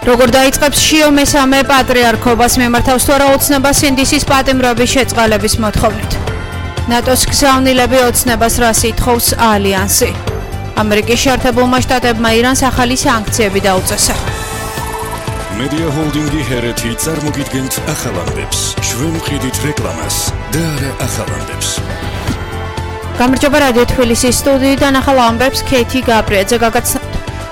როგორ დაიწყებს შიო მესამე პატრიარქობას მიმართავს თუ არა ოცნება სინდისის პატიმრობის შეწყალების მოთხოვნით. ნატოს გზავნილები ოცნებას რას ითხოვს ალიანსი. ამერიკის შეერთებულმა შტატებმა ირანს ახალი სანქციები დაუწესა. Media Holding-ი ჰერეთი წარმოგიდგენთ ახალამდებს. ჩვენ ვყიდით რეკლამას და არა ახალამდებს. გამარჯობა რადიო თბილისის სტუდიიდან ახალ ამბებს ქეთი გაბრიაძე გაგაცნობთ.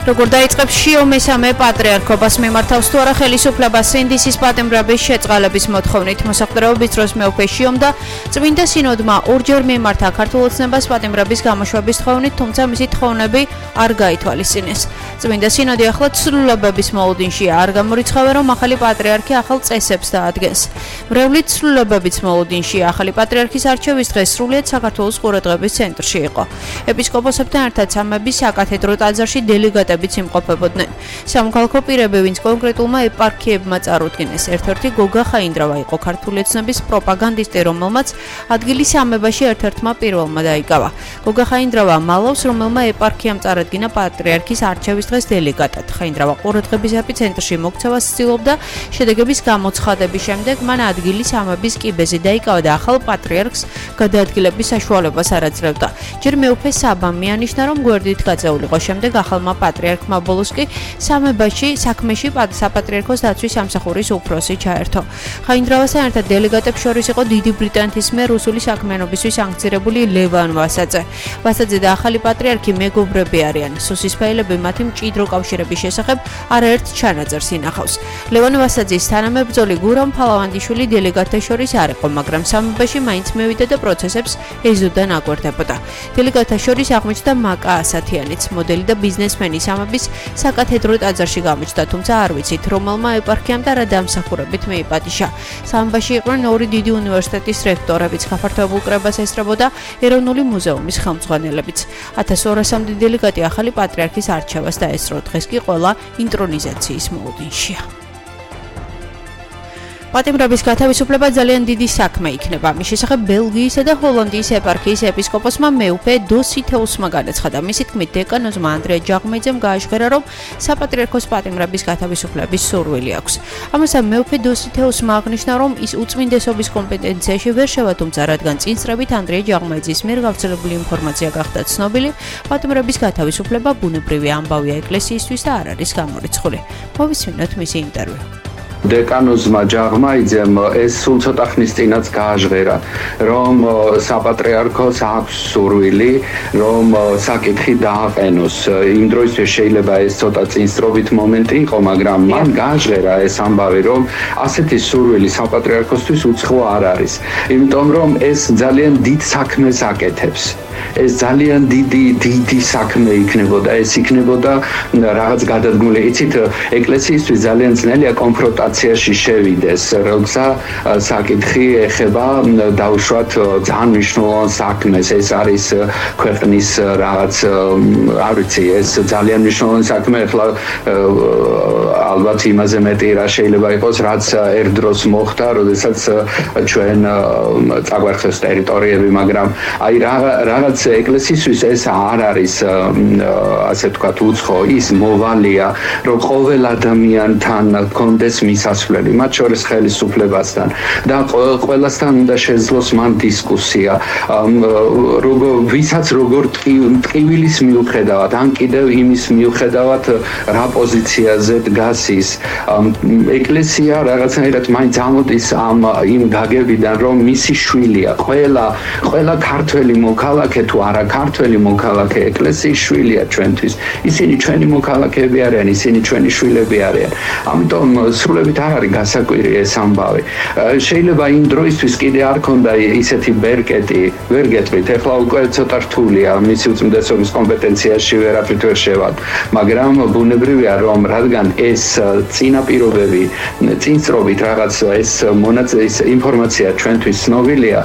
როგორ დაიწყებს შიო მესამე პატრიარქობას მიმართავს თუ არა ხელისუფლებას სინდისის პატიმრობის შეწყალების მოთხოვნით. მოსახლეობის დროს მეუფე შიომ და წმინდა სინოდმა ორჯერ მიმართა ქართულ ოცნებას პატიმრობის გამოშვების თხოვნით, თუმცა მისი თხოვნები არ გაითვალისწინეს. წმინდა სინოდი ახლა ცვლილებების მოლოდინშია, არ გამორიცხავენ რომ ახალი პატრიარქი ახალ წესებს დაადგენს. მრევლი ცვლილებების მოლოდინშია, ახალი პატრიარქის არჩევის დღე სრულიად საქართველოს ყურადღების ცენტრში იყო. ეპისკოპოსებთან ერთად სამების საკათედრო ტაძარში დელეგატები იმყოფებოდნენ. სამოქალაქო პირები, ვინც კონკრეტულმა ეპარქიებმა წარუდგინეს. ერთ-ერთი გოგა ხაინდრავა იყო ქართული ოცნების პროპაგანდისტი, რომელმაც ადგილი სამებაში ერთ-ერთმა პირველმა დაიკავა. გოგა ხაინდრავა მალავს, რომელმა ეპარქიამ წარადგინა პატრიარქის არჩევის დღეს დელეგატად. ხაინდრავა ყურადღების ეპიცენტრში მოქცევას ცდილობდა, შედეგების გამოცხადების შემდეგ მან ადგილი სამების კიბეზე დაიკავა და ახალ პატრიარქს გადაადგილების საშუალებას არ აძლევდა. ჯერ მეუფე საბამ მიანიშნა, რომ გვერდით გაწეულიყო, შემდეგ ახალმა პატრიარქმა ბოლოს კი სამებაში საქმეში საპატრიარქოს დაცვის სამსახურის უფროსი ჩაერთო. ხაინდრავასთან ერთად დელეგატებს შორის იყო დიდი ბრიტანეთის მიერ რუსული საქმიანობისთვის სანქცირებული ლევან ვასაძე. ვასაძე და ახალი პატრიარქი მეგობრები არიან. სუსისფაილები მათი მჭიდრო კავშირების შესახებ არაერთ ჩანაწერს ინახავს. ლევან ვასაძის თანამებრძოლი გურამ ფალავანდიშვილი დელეგატთა შორის არ იყო, მაგრამ სამებაში მაინც მევიდა და პროცესებს ეზოდან აკვირდებოდა. დელეგატთა შორის აღმოჩნდა მაკა ასათიანიც, მოდელი და ბიზნესმენი სამების საკათედრო ტაძარში გამოჩნდა, თუმცა არ ვიცით, რომელმა ეპარქიამ და რა დამსახურებით მიიპატიჟა. სამებაში იყვნენ ორი დიდი უნივერსიტეტის რექტორებიც, გაფართოებულ კრებას ესწრებოდა ეროვნული მუზეუმის ხელმძღვანელებიც. 1200-მდე დელეგატი ახალი პატრიარქის არჩევას დაესწრო, დღეს კი ყველა ინტრონიზაციის მოლოდინშია. პატიმრობის გათავისუფლება ძალიან დიდი საქმე იქნება. მის შესახებ ბელგიისა და ჰოლანდიის ეპარქიის ეპისკოპოსმა მეუფე დოსითეუსმა განაცხადა. მისი თქმით, დეკანოზმა ანდრია ჯაღმეიძემ გააშკარა, რომ საპატრიარქოს პატიმრების გათავისუფლების სურვილი აქვს. ამასთან მეუფე დოსითეუსმა აღნიშნა, რომ ის უწმინდესობის კომპეტენციაში ვერ შევა, თუმცა რადგან წინსწრებით ანდრია ჯაღმეიძის მიერ გავრცელებული ინფორმაცია გახდა ცნობილი, პატიმრების გათავისუფლება ბუნებრივი ამბავია ეკლესიისთვის და არ არის გამორიცხული. მოვისმინოთ მისი ინტერვიუ. დეკანოზმა ჯაღმეიძემ ეს სულ ცოტა ხნის წინაც გააჟღერა, რომ საპატრიარქოს აქვს სურვილი, რომ საკითხი დააყენოს. იმ დროისთვის შეიძლება ეს ცოტა წინსწრობით მომენტი იყო, მაგრამ მან გააჟღერა ეს ამბავი, რომ ასეთი სურვილი საპატრიარქოსთვის უცხო არ არის. იმიტომ რომ ეს ძალიან დიდ საქმეს აკეთებს. ეს ძალიან დიდი საქმე იქნებოდა, ეს იქნებოდა რაღაც გადადგმული. იცით, ეკლესიისთვის ძალიან ძნელია კონფრონტაციაში შევიდეს, როცა საკითხი ეხება დაუშვათ ძალიან მნიშვნელოვან საქმეს. ეს არის ქვეყნის რაღაც, არ ვიცი, ეს ძალიან მნიშვნელოვანი საქმე. ახლა ალბათ იმაზე მეტი რა შეიძლება იყოს, რაც ერთ დროს მოხდა, როდესაც ჩვენ წაგვერხეს ტერიტორიები, მაგრამ აი რაღაც ეკლესიისთვის ეს არ არის ასე ვთქვათ უცხო, ის მოვალია, რომ ყოველ ადამიანთან კონდეს მისასვლელი, მათ შორის ხელისუფლებასთან და ყველასთან უნდა შეძლოს მან დისკუსია, ვისაც როგორ ტყივილის მიუხედავად, ან კიდევ იმის მიუხედავად რა პოზიციაზე დგას ის. ეკლესია რაღაცნაირად მაინც ამოდის იმ გაგებიდან, რომ მისი შვილია, ყველა ქართველი მოქალაქე თუ არა ქართველი მოქალაქე ეკლესიის შვილია ჩვენთვის. ისინი ჩვენი მოქალაქეები არიან, ისინი ჩვენი შვილები არიან. ამიტომ სრულებით არ არის გასაკვირი ეს ამბავი. შეიძლება იმ დროისთვის კიდე არ ქონდა ისეთი ბერკეტი, ვერ გეტყვით, ეხლა უკვე ცოტა რთულია, მისი უწმინდესობის კომპეტენციაში ვერაფრით ვერ შევად, მაგრამ ბუნებრივია, რომ რადგან ეს წინაპირობები წინსწრობით რაღაც ეს ინფორმაცია ჩვენთვის ცნობილია,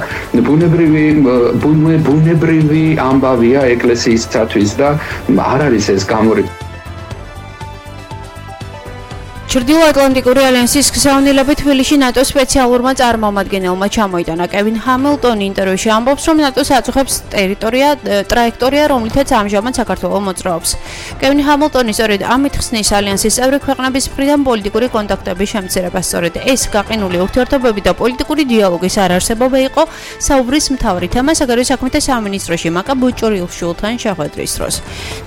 ბუნებრივი ამბავია ეკლესიისათვის და არ არის ეს გამორიცხული. ჩრდილოატლანტიკური ალიანსის გზავნილებით თბილისში ნატოს სპეციალურმა წარმომადგენელმა ჩამოიტანა კევინ ჰამილტონი ინტერვიუში ამბობს, რომ ნატოს აწუხებს ტრაექტორია, რომლითაც ამჟამად საქართველო მოძრაობს. კევინ ჰამილტონი სწორედ ამით ხსნის ალიანსის წევრი ქვეყნების მხრიდან პოლიტიკური კონტაქტების შემცირებას. სწორედ ეს გაყინული ურთიერთობები და პოლიტიკური დიალოგის არარსებობა იყო საუბრის მთავარი თემა საგარეო საქმეთა სამინისტროში მაკა ბუჭურილშვილთან შეხვედრის დროს.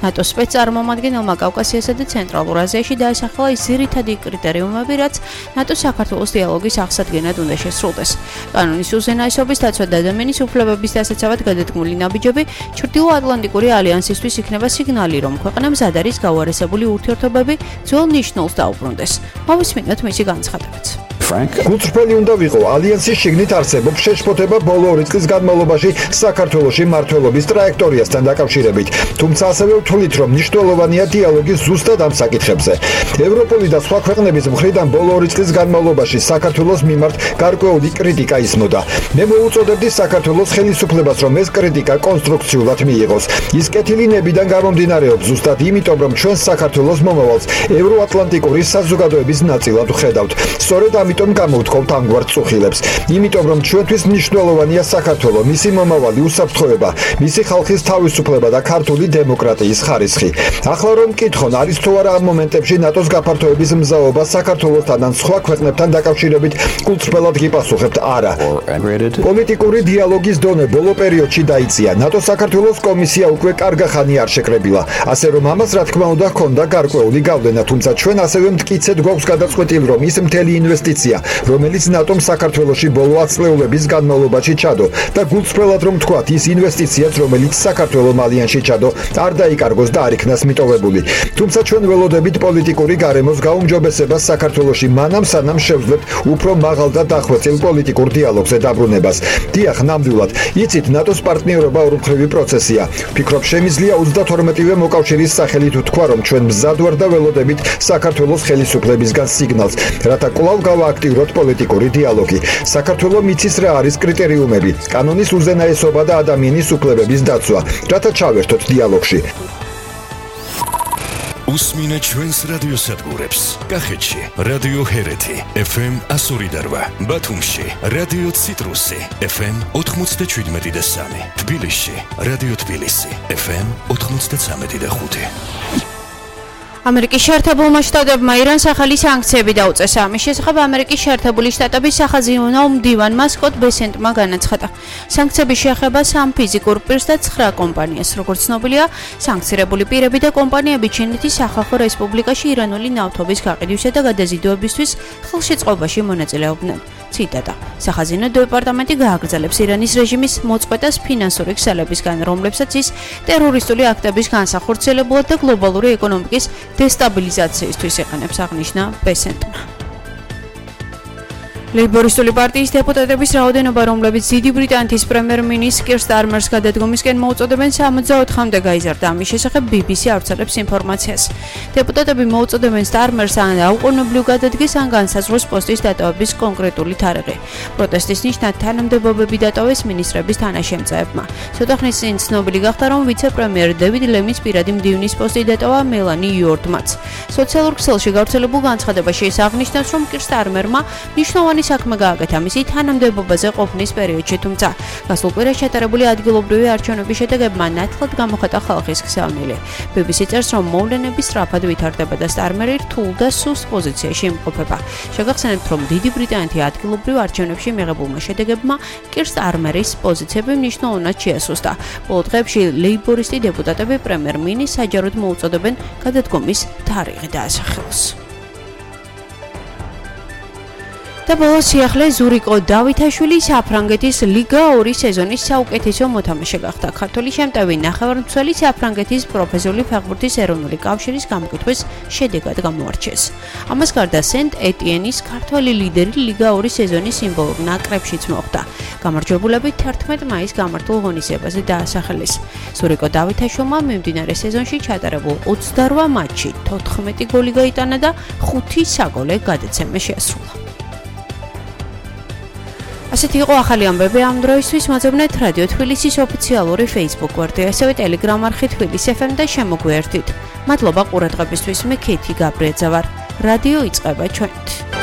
ნატოს სპეცწარმომადგენელმა კავკასიასა და ცენტრალურ აზიაში დაასახელა ის ძირითადი კრიტერიუმები, რაც ნატოს საქართველოს დიალოგის აღსადგენად უნდა შესრულდეს. კანონის უზენაესობის დაცვა და ადამიანის უფლებების დასაცავად გადადგმული ნაბიჯები ჩრდილოატლანტიკური ალიანსისთვის იქნება სიგნალი, რომ ქვეყნა მზად არის გაუარესებული ურთიერთობები ძველ ნიშნულს დაუბრუნდეს. მოვისმინოთ მისი განცხადებაც. გულწრფელი უნდა ვიყო ალიანსის შიგნით არსებობს შეშფოთება ბოლო 2 წლის განმავლობაში საქართველოში მმართველობის ტრაექტორიასთან დაკავშირებით, თუმცა ასევე ვთვლით, რომ მნიშვნელოვანია დიალოგი ზუსტად ამ საკითხებზე. ევროპული და სხვა ქვეყნების მხრიდან ბოლო 2 წლის განმავლობაში საქართველოს მიმართ გარკვეული კრიტიკა ისმოდა. მე მოუწოდებდი საქართველოს ხელისუფლებას, რომ ეს კრიტიკა კონსტრუქციულად მიიღოს. ის კეთილი ნებიდან გამომდინარეობს ზუსტად იმიტომ, რომ ჩვენ საქართველოს მომავალს ევროატლანტიკური საზოგადოების ნაწილად ვხედავთ. სწორედ ამიტომ გამოვთხოვთ ამგვარ წუხილებს. იმიტომ რომ ჩვენთვის მნიშვნელოვანია საქართველო, მისი მომავალი უსაფრთხოება, მისი ხალხის თავისუფლება და ქართული დემოკრატიის ხარისხი. ახლა რომ მკითხონ, არის თუ არა ამ მომენტებში ნატოს გაფართოების მზაობა საქართველოსთან ან სხვა ქვეყნებთან დაკავშირებით, გულწრფელად გიპასუხებთ არა. პოლიტიკური დიალოგის დონე ბოლო პერიოდში დაიწია. ნატოს საქართველოს კომისია უკვე კარგა ხანი არ შეკრებილა. ასე რომ ამას რა თქმა უნდა ჰქონდა გარკვეული გავლენა, თუმცა ჩვენ ასევე მტკიცედ გვაქვს გადაწყვეტილი, რომ ის მთელი ინვესტიცია, რომელიც ნატომ საქართველოში ბოლო 10 წლეულების განმავლობაში ჩადო და გულწრფელად რომ თქვათ, ის ინვესტიციაც, რომელიც საქართველოს ალიანსში ჩადო, არ დაიკარგოს და არ იქნას მიტოვებული. თუმცა ჩვენ ველოდებით პოლიტიკური გარემოს გაუმჯობესებას საქართველოში მანამ სანამ შევძლებთ უფრო მაღალ და დახვეწილ პოლიტიკურ დიალოგზე დაბრუნებას. დიახ, ნამდვილად, იცით, ნატოს პარტნიორობა ორმხრივი პროცესია. ვფიქრობ, შემიძლია 32-ვე მოკავშირის სახელით ვთქვა, რომ ჩვენ მზად ვარ და ველოდებით საქართველოს ხელისუფლებისგან სიგნალს, რათა კვლავ გავააქტიუროთ პოლიტიკური დიალოგი. საქართველო მიცის რა არის კრიტერიუმები, კანონის უზენაესობა და ადამიანის უფლებების დაცვა, რათა ჩავერთოთ დიალოგში. უსმინე ჩვენს რადიოსადგურებს. კახეთში რადიო ჰერეთი FM 102.8, ბათუმში რადიო ციტრუსი FM 97.3, თბილისში რადიო თბილისი FM 93.5. ამერიკის შეერთებულმა შტატებმა ირანს ახალი სანქციები დაუწეს. ამის შესახებ ამერიკის შეერთებული შტატების სახაზინო მდივანმა სკოტ ბესენტმა განაცხადა. სანქციები შეეხება 3 ფიზიკურ პირს და 9 კომპანიას. როგორც ცნობილია, სანქცირებული პირები და კომპანიები ჩინეთის სახალხო რესპუბლიკაში ირანული ნავთობის გაყიდვისა და გადაზიდვებისთვის ხელშეწყობაში მონაწილეობდნენ. ციტატა. სახაზინო დეპარტამენტი გააგრძელებს ირანის რეჟიმის მოწყვეტას ფინანსური ქსელებისგან, რომლებსაც ის ტერორისტული აქტების განსახორციელებლად და გლობალური ეკონომიკის დესტაბილიზაციისთვის იყენებს, აღნიშნა ბესენტმა. ლეიბორისტული პარტიის დეპუტატების რაოდენობა, რომლებიც დიდი ბრიტანეთის პრემიერ-მინისტრ კირ სტარმერს გადადგომისკენ მოუწოდებენ 64-მდე გაიზარდა. ამის შესახებ BBC ავრცელებს ინფორმაციას. დეპუტატები მოუწოდებენ სტარმერს ან დაუყოვნებლივ გადადგეს, ან განსაზღვროს პოსტის დატოვების კონკრეტული თარიღი. პროტესტის ნიშნად თანამდებობები დატოვეს მინისტრების თანაშემწეებმა. ცოტა ხნის წინ ცნობილი გახდა, რომ ვიცე-პრემიერ დევიდ ლემის პირადი მდივნის პოსტი დატოვა მელანი იორდმაც. სოციალურ ქსელში გავრცელებულ განცხადებაში ის აღნიშნავს, რომ კირ სტარმერმა მნიშვნელოვანი საქმე გააკეთა მისი თანამდებობაზე ყოფნის პერიოდში, თუმცა გასულ კვირას ჩატარებული ადგილობრივი არჩევნების შედეგებმა ნათლად გამოხატა ხალხის გზავნილი. BBC წერს, რომ მოვლენები სწრაფად ვითარდება და სტარმერი რთულ და სუსტ პოზიციაში იმყოფება. შეგახსენებთ, რომ დიდი ბრიტანეთი ადგილობრივ არჩევნებში მიღებულმა შედეგებმა კირ სტარმერის პოზიციები მნიშვნელოვნად შეასუსტა. ბოლო დღეებში ლეიბორისტი დეპუტატები პრემიერ-მინისტრს საჯაროდ მოუწოდებენ გადადგომის თარიღი დაასახელოს. და ბოლოს სიახლე ზურიკო დავითაშვილი საფრანგეთის ლიგა 2 სეზონის საუკეთესო მოთამაშე გახდა. ქართველი შემტევი ნახევარმცველი საფრანგეთის პროფესიული ფეხბურთის ეროვნული კავშირის გამოკითხვის შედეგად გამოარჩიეს. ამას გარდა სენტ-ეტიენის ქართველი ლიდერი ლიგა 2 სეზონის სიმბოლურ ნაკრებშიც მოხვდა. გამარჯვებულები 11 მაისს გამართულ ღონისძიებაზე დაასახელეს. ზურიკო დავითაშვილმა მიმდინარე სეზონში ჩატარებულ 28 მატჩში 14 გოლი გაიტანა და 5 საგოლე გადაცემა შეასრულა. ასეთი იყო ახალი ამბები ამ დროისთვის. მოძებნეთ რადიო თბილისის ოფიციალური Facebook გვერდი, ასევე Telegram არხი თბილისი FM და შემოგვიერთდით. მადლობა ყურადღებისთვის. მე ქეთი გაბრიაძე ვარ. რადიო იწყება ჩვენით.